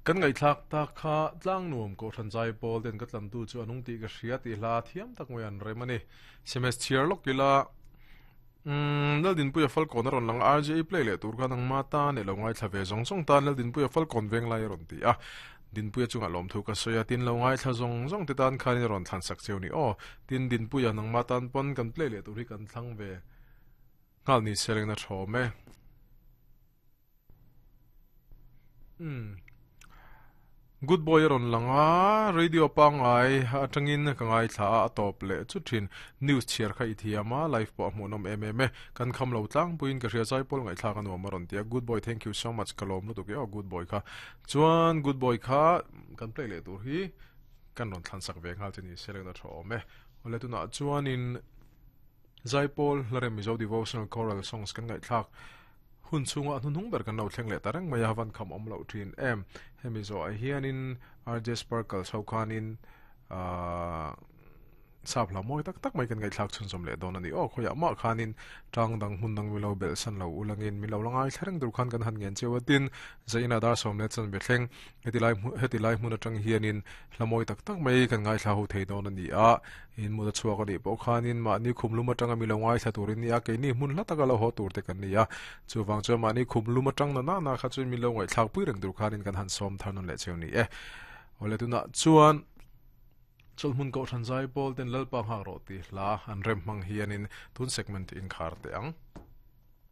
Kan ngaihthlak tak kha Tlangnuam Kohhran Zaipawl ten ka tlantu chu a nung tih ka hria tih hla thiam tak mai an rem a ni. Sms chhiar lawk ila umm Laldinpuia Falkawn a rawn lang a, RJA play leh tur kha nangma tan leh lo ngaithla ve zawng zawng tan Laldinpuia Falkawn Venglai a rawn ti a. Dinpuia chungah lawmthu ka sawi a, tin lo ngaithla zawng zawng te tan khanin a rawn thlan sak cheu ni aw. Tin Dinpuia nangma tan pawn kan play leh tur hi kan thlang ve nghal ni se rengna thawm e. Umm. Good boy a rawn lang a, radio pangngai atangin ka ngaithla a, a tawp leh chu thin. News chhiar kha i thiam a, live pawh a hmuhnawm em em e. Kan kham lo tlangpuiin ka hria zaipawl ngaihthlak a nuam a rawn ti a. Good boy thank you so much ka lawm lutuk e aw good boy kha. Chuan good boy kha kan play leh tur hi kan rawn thlan sak ve nghal che ni se reng a tha awm e. Awle tunah chuanin Zaipawl Hlarem Mizo Devotional Choral Songs kan ngaihthlak hun chhunga a hnuhnung ber kan lo thleng leh ta reng mai a, van kham awm loh thin em. Hemi zawhah hianin RJ Sparkles ho khanin ahh sap hla mawi tak tak mai kan ngaihthlak chhunzawm leh dawn a ni. Aw khawiah mah khanin tang dang hmun dang milo belh san lo ulangin milo la ngaithla reng tur khan kan han ngen cheu a tin zaina dar sawm leh chanve thleng heti lai heti lai hmun atang hianin hla mawi tak tak mai kan ngaithla ho thei dawn a ni a. In mut a chhuak a nih pawh khanin mahni khum lum atanga mi lo ngaithla tur in ni a, keini hmun hla taka lo haw tur te kan ni a. Chuvang chuan mahni khum lum atang na na na kha chuan min lo ngaihthlak pui reng tur khanin kan han sawm thar nawn leh cheu ni e. Awle tunah chuan Chawlhmun Kohhran Zaipawl ten Lalpa nghak rawh tih hla an rem hmang hianin tun segment inkhar teh ang.